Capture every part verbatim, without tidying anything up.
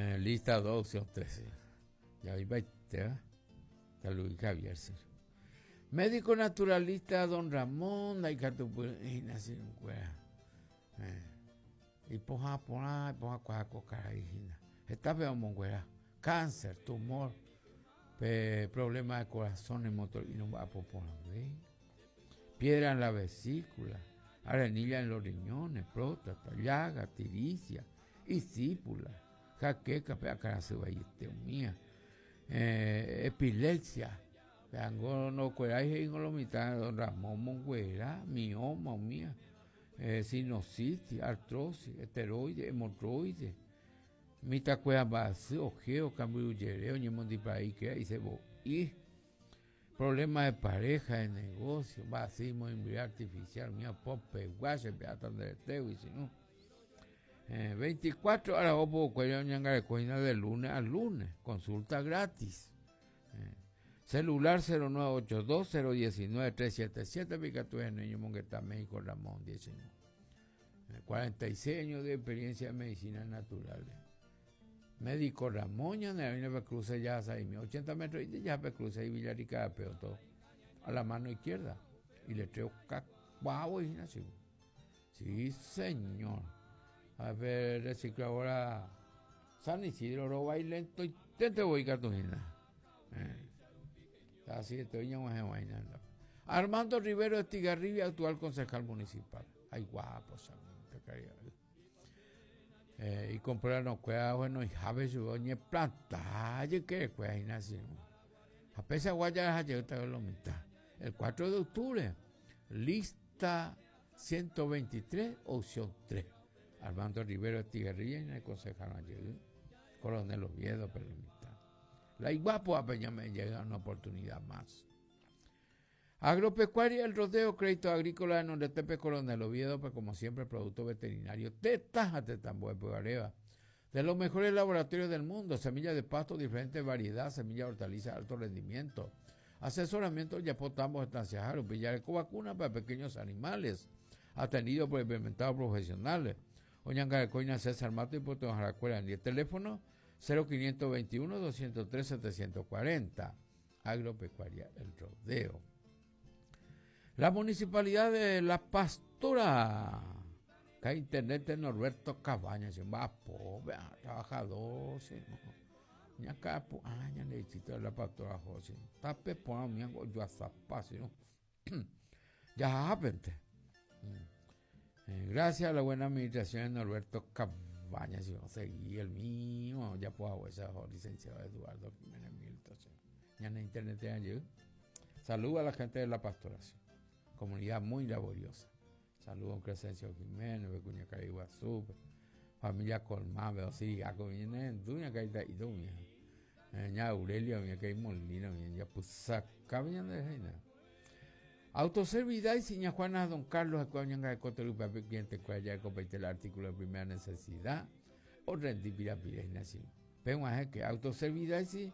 Eh, lista dos, opción tres. Ya iba ¿eh? Luis Javier. Médico naturalista don Ramón, eh, ipohã porã, ipohã kuaa karai hína. Heta pe omonguera. Cáncer, tumor, pe problema de corazón, motor y no va a piedra en la vesícula, arenilla en los riñones, próstata, llaga, tiricia, isípula, jaqueca, pe mía, eh, epilepsia, ango no cuerai he'i lo mitad don Ramón monguera, mioma mía, eh, sinusitis, artrosis, esteroide, hemorroide, mitakuéra mba'asy, ojeo, kambyrujere, oñemondipa'i y cebo'i, problema de pareja, de negocio, mba'asy moimbyre artificial, mía popegua, chepe'áta nderetégui, sino eh, veinticuatro horas opo oñangareko hína de lunes a lunes, consulta gratis. Eh, celular cero nueve ocho dos cero uno nueve tres siete siete, ikatu ñomongeta médico Ramón diecinueve. Eh, cuarenta y seis años de experiencia en medicina naturales. Médico Ramón, ya en cruce ya ochenta metros y ya cruce y Villarrica, pero todo a la mano izquierda. Y le traigo guau y así. Sí, señor. A ver, recicladora San Isidro, roba y lento y te voy cartujina. Eh. Así estoy. Armando Rivero Estigarribia, actual concejal municipal. Ay, guapo, eh, y comprar no cueva, bueno, y jabe su oñe planta, que cueva así. A pesar guaya lo mitad. El cuatro de octubre, lista ciento veintitrés, opción tres. Armando Rivero Estigarribia, en el concejal allí, Coronel Oviedo, pero mitad. La iguapo a Peña me llega una oportunidad más. Agropecuaria El Rodeo, Crédito Agrícola en Oretepe, Coronel Oviedo, pues como siempre, producto veterinario, Tetaja, Tetamboe, Areva. De los mejores laboratorios del mundo, semillas de pasto, diferentes variedades, semillas de hortalizas, alto rendimiento. Asesoramiento, Yapotambos, Estancia Jaro, Villareco, vacuna para pequeños animales, atendido por experimentados profesionales. Oñangarecoina César Mato y Puerto Jaracuela. En el teléfono cero quinientos veintiuno doscientos tres setecientos cuarenta. Agropecuaria El Rodeo. La municipalidad de La Pastora. Que internet de Norberto Cabañas, va pobre, trabajador, sí, no. Ña ah, ña de La Pastora José. Tape por mi yo a no. Ya japente. Mm. Eh, gracias a la buena administración de Norberto Cabañas, si seguí el mío, ya puedo esa licenciado Eduardo Jiménez Milton. Ya en internet de Saludos a la gente de La Pastoración, comunidad muy laboriosa. Saludos a Crescencio Jiménez, Becuña Cariguazú, familia Colmán, veo Siriaco, viene Duña Caita y Duña. Ña Aurelia, mi que Molina, mi ya pues saca de reina. Autoservidad y Siña Juana Don Carlos, Ecuañanga de Cotelupa, cliente cuaya de el artículo de primera necesidad, o rendipira pira Pero que Autoservidad y sí,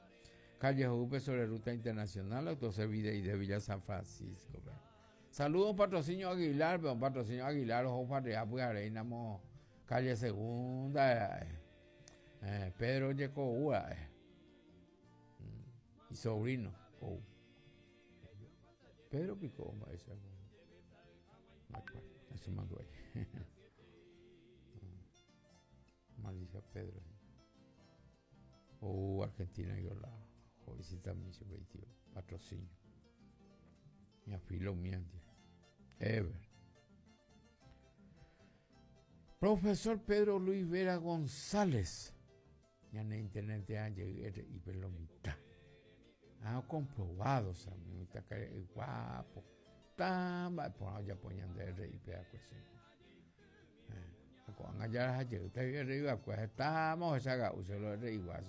calle Jupe sobre ruta internacional, Autoservidad y de Villa San Francisco. Saludos patrocinio Aguilar, un patrocinio Aguilar, ojo para pues Areinamo, calle Segunda, eh, eh, Pedro Yeco eh. Mm, y sobrino, oh. Pedro Pico, ese, eso mandó ahí. Malicia Pedro. Oh, Argentina yo la jovencita mi patrocinio. Mi afilo mi Ever. Profesor Pedro Luis Vera González. Ya en internet y lo mitad. Ha comprobado, o sea, mi guapo. Tamba, por allá poniendo R y P a cuestión. Ko'ág̃a jaraha jeýta arriba, pues estamos esa lo R igual.